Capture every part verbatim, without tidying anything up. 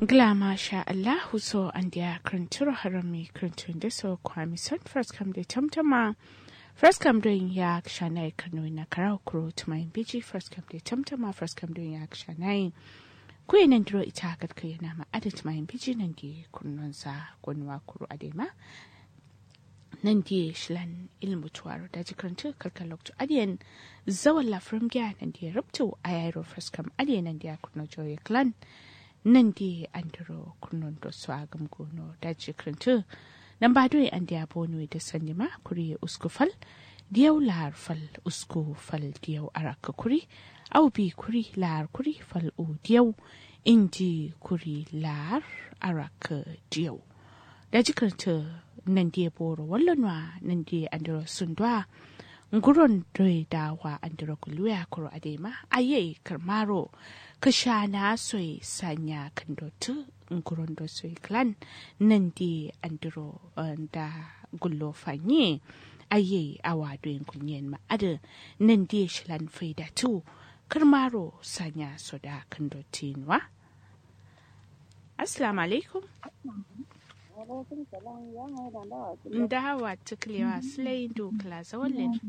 Ngla masha allahu so andiya kǝrǝntǝro harami kǝrǝntǝ nde so kwami son faraskam de tamtama. Faraskam don ya kǝshana ye kǝrnuwi na karawo kuro tǝmayin biji faraskam de tamtama faraskam don ya kǝshana ye. Kuye nandiro ita gatkai yana ma adǝ tǝmayin biji nandi kurnonza gonwa kuro adai ma. Nandiye shilan ilmu tuwaro daji kǝrǝntǝ kalkal loktu adiyen. Zawalla fǝrǝm giya nandiye rubtu ayayiro fǝrǝskam adiye nandiya kurno jawo ye kǝlan. Nandiye andiro kurno ndo so agǝm gono daji kǝrǝntǝ. Namba doi andiya bono ye dǝ sandima kuri ye usku fal. Diyau lahar fal usku fal diyau arakkǝ kuri. Au bi kuri lahar kuri fal u diyau. Indi kuri lahar arakkǝ diyau. Daji kǝrǝntǝ nandiye boro wallonuwa nandiye andiro sunduwa. Nguron doi dawa andiro gulluya kuro adai ma ayai kǝrmaro. Kǝshana soye sanya kǝndotǝ. Nguron do soye kǝlan nandiye andiro nda gullo fanyi. Ayai awa doyin gulnyen ma adǝ nandiye shilan faidatu. Kǝrmaro sanya soda kǝndotǝ yinuwa. Assalamu alaikum. Ndawa tuklewa silai ndu kla zawallen.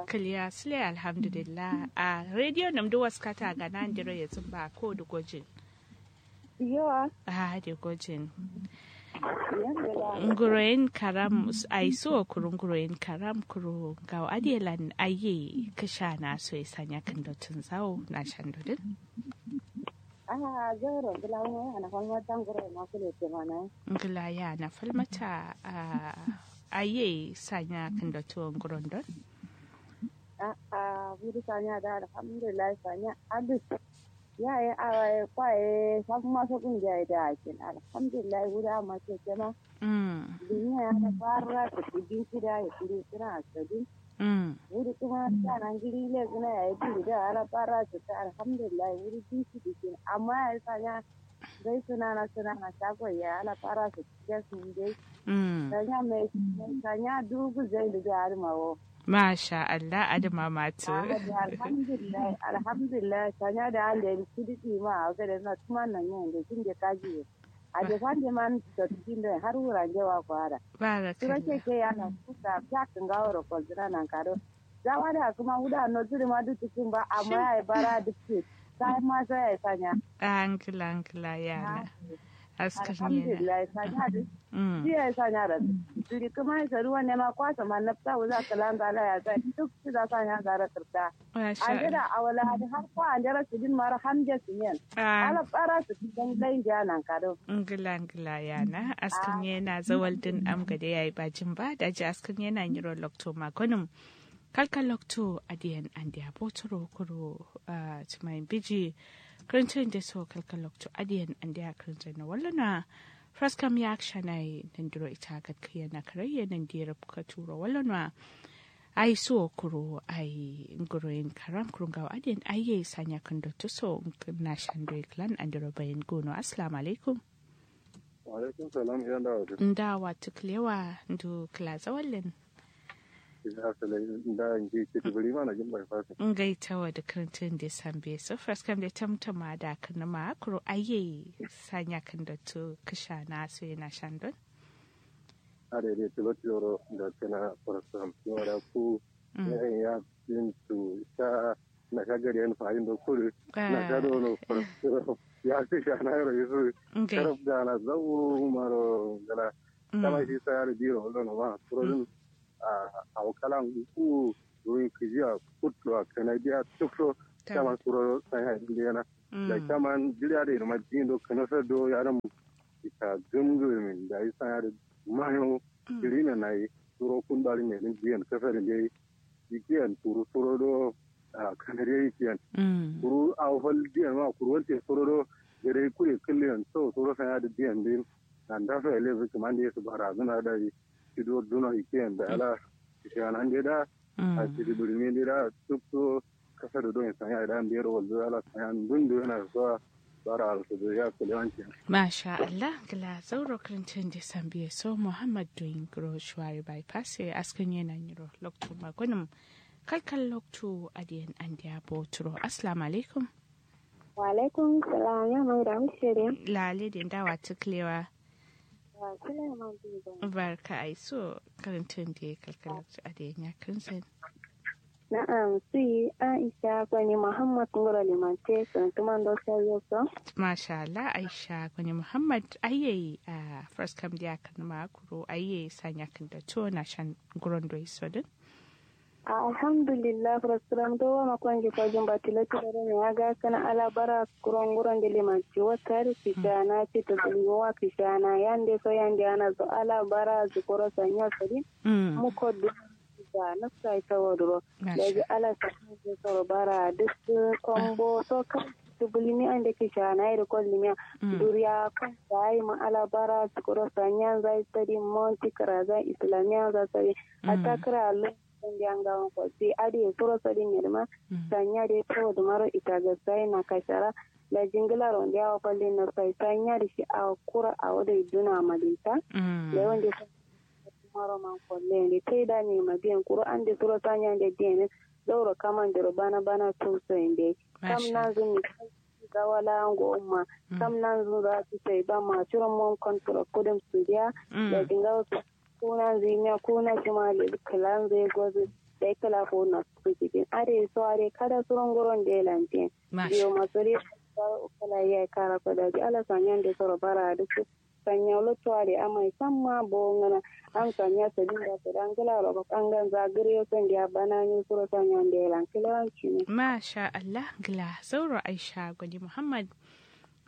Kǝliya silai alhamdulillah a rediyo namdu waskata gana ndiro yezǝmba ko dǝ gojin. Yowa. Ahade gojin. Nguroyin karam aiso kuru nguroyin karam kuru ngawo adiyelan ayye kǝshana soye sanya kǝndotǝn zawo na shandodin. Aha zauro ngla mo yana falmata nguroyin ma kule temana. Ngla yana falmata. Ayye sanya kǝndotǝ nguron don. A'a buri sanya da alhamdulillah sanya adǝ. Yaye awaye kwaye safma sokun jaye da akin alhamdulillah wuri amma keke ma. Duniya ya da barra sǝkki binci da ya kuri suna askadin. Wuri kuma sana ngiri le suna yayi duri da ala barra sǝkki alhamdulillah wuri binci dikin amma yayi sanya. Dai suna na suna na shago ya ala barra sǝkki da sun dai. Sanya mai sanya dugu zai da jari mawo. Masha Allah adǝ ma matu. Alhamdulillah alhamdulillah sanya da ande sudiki ma a gade na tuma nan yin da kin da kaji. Ade fande man to kin da har wura nge wa kwara. Sura keke yana kusa fiya kǝngawo ro kolzina nan kado. Zawa da kuma wuda no zuri ma duk cikin ba amma yayi bara duk ce. Sai ma sai yayi sanya. Angla angla yana. Askar ne na. Alhamdulillah sanya duk. Shi yayi sanya da duk. Duri kuma ya saruwa ne ma kwasa ma nafsa wuza kalan zala ya sai duk shi za sanya zara kirta. Ande da awala ade har kwa ande ra sidin mara hamje sinen. Ala bara sidin dan dan ja nan kado. Ngla ngla yana askar ne na zawal din am gade yayi bajin ba daji askar ne na nyiro lokto magonum. Kalkal loktu adiyen andiya boturo kuro. Tǝmayin biji kǝrǝntǝ nde so kalkal loktu adiyen andiya kǝrǝntǝ na wallona. Faraskam ya kǝshana ye nandiro ita gatkǝ ye na kǝrai ye nandi rubkatu ro wallona. Ai suwo kuro ai nguroyin karam kuro ngawo adiyen ai ye sanya kǝndotǝ so. Na shando ye kǝlan andiro bayin gono assalamu alaikum. Alaikum salam ya ndawa tǝ. Ndawa tǝ kǝlewa ndu kǝla zawallen. Ngai tawa dǝ kǝrǝntǝ nde sambe so faraskam de tamtama da kǝnǝma kuro aiye sanya kǝndotǝ kǝshana so ye nashandon. Adai dai tǝlo tǝloro nda kǝna faraskam yau da ku yayin ya bintu sha nasha gari yan fayin do kudǝ nasha do no faraskam ya kǝshana yaro yusǝ. Karab gana zauro maro gana. Tama shi saya da biro wallo no ma kuro dǝn. Awo kala ngu ruwin kǝjiya kuttuwa kǝna diya tukso. Caman suro sanya indi yana da caman jiriya da irma jindo kǝna sa do yaram. Ita gǝmgǝmin dayi sanya da mayo. Jiri na nayi suro kun bari ne din jiyan kasa da dai. Jikiyan kuru suro do. Kǝna dai jikiyan kuru awo fal jiyan ma kuru wante suro do. Jadai kure kǝlliyan so suro sanya da jiyan din. Nanda so ya lezu kǝman da yesu bara zuna dayi. Shido duno ikiyen da ala shiyanande da. A shidi burminde da tukso. Kasa da don sanya da ndero wallo ala sanya ndundu yana so. Bara alsu da ya kulewanci. Masha Allah gla zauro krintin de sambiye so muhammad doyin gro shuwari bypass ya askan yana nyiro loktu magunum. Kalkal loktu adiyan andiya boturo assalamu alaikum. Wa'alaikum salam ya mai da mushiri. Lale de nda watu klewa. Barka aiso. Karantun de kalkalaktu ade nya kansan. Na'am si aisha kwani muhammad ngoro limante. Santuman do sayo so. Masha Allah aisha kwani muhammad ayyai a first kam dia kan makuro ayyai sanya kan da to na shan guron do iso din. Alhamdulillah furaskram do wa makonji kojin batilo tiloro ne ya ga kana ala bara kuron guron de limanci wata da kishana ci to bulmi wa kishana yande so yande ana so ala bara zukuro sanya sadi. Muko du da nafsa ita waduro. Daji ala sanya de soro bara duk kombo so kan to bulmi ande kishana ya da kollimiya. Duriya kan da yi ma ala bara zukuro sanya zai sadi monti kara zai islamiya zai sadi. Hatta kira lo Sandi angawan kwalti adi ye suro sadi nyedima. Sanya de tawo dumaro ita gasai na kashara. Da jingila ronde awa kwalli na sai sanya da shi awa kura awa da iduna madinta. Da yawan de maro man kwalle de tai da ne madiyan kuro an de suro sanya de dene. Dauro kaman dero bana bana tuso inde. Kam na zumi gawala ngo umma. Kam nan zun za su sai ba ma curon mon kon tura kudum su diya. Da dinga su kuna zimiya kuna shima le kala zai gozu. Dai kala ko na su cikin are so are kada suron guron da lantin. Biyo masuri kala ya kara ko da ji ala sanyan da soro bara duk sanya lotto ade amai samma bo ngana. Am sanya sadin da sadan kala ro ko kangan za gure sandiya bana ni suro sanya da lan kala. Masha Allah gila sauro aisha gwani muhammad.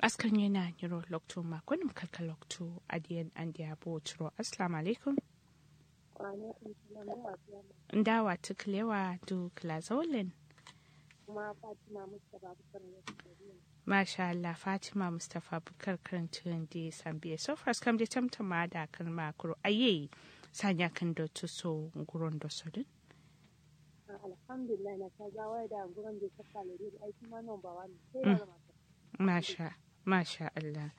Askar nyena nyiro loktu makonim kalka loktu adiyan andiya bo turo assalamu alaikum. Ndawa tuklewa du kla zaulen. Masha Allah fatima mustapha bukar karantu ndi sambiye so fras kam de tamtama da kan makuru aye. Sanya kan do tuso nguron do sodin. Alhamdulillah na ta zawai da nguron de sakale de aiki ma number one. Masha masha Allah.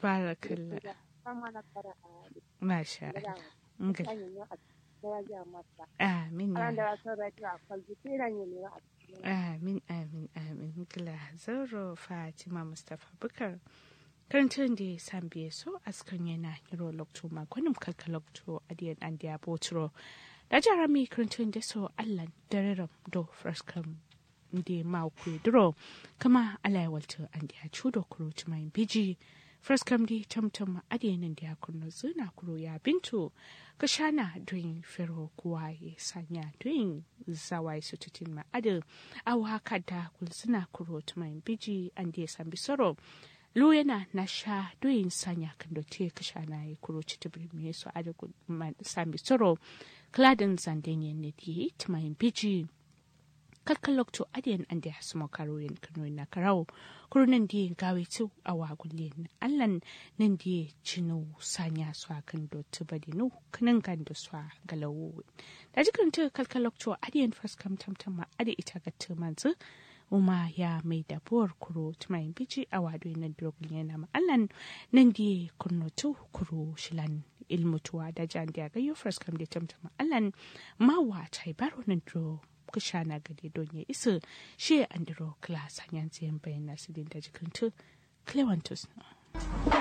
Barakallah. Masha Allah. Amin amin amin amin kila zauro fatima mustapha bukar. Karantun de sambiye so askar nyena nyiro loktu makonim kalka loktu adiyan andiya boturo. Da jarami karantun de so allan dareram do fraskam. Nde mawu kuye duro kama alai waltu andiya cudo kuro tumayin biji. Fraskam de tamtam adiyan andiya kurno zuna kuro ya bintu. Kashana duyin fero kuwaye sanya duyin. Zawaye sututin ma adu. Awa kada kulsuna kuro tumayin biji andiya sambi soro. Luyena nasha duyin sanya kando te kashana ye kuro citibiri me so adu. Sambi soro. Kladin zanden ye ne diye tumayin biji. Kalkal loktu adiyan ande hasumo karuyen kano na karawo. Kuru nan diye gawe tu awa gullen allan. Nan diye cinu sanya so akan do tubadinu kanan gando so galawo. Daji kanta kalkal loktu adiyan faskam tamtam ma adi ita gatta manzu. Uma ya mai dabuwar kuro tumayin biji awa do nan duro gullen na ma allan. Nan diye kunno tu kuro shilan ilmutuwa daji ande agayyo faskam de tamtam ma allan. Mawa tai baro nan duro. Kushana gade donye isu. Shiye andiro kla sanyan ziyan bayan nasu din daji kanta. Klewantus.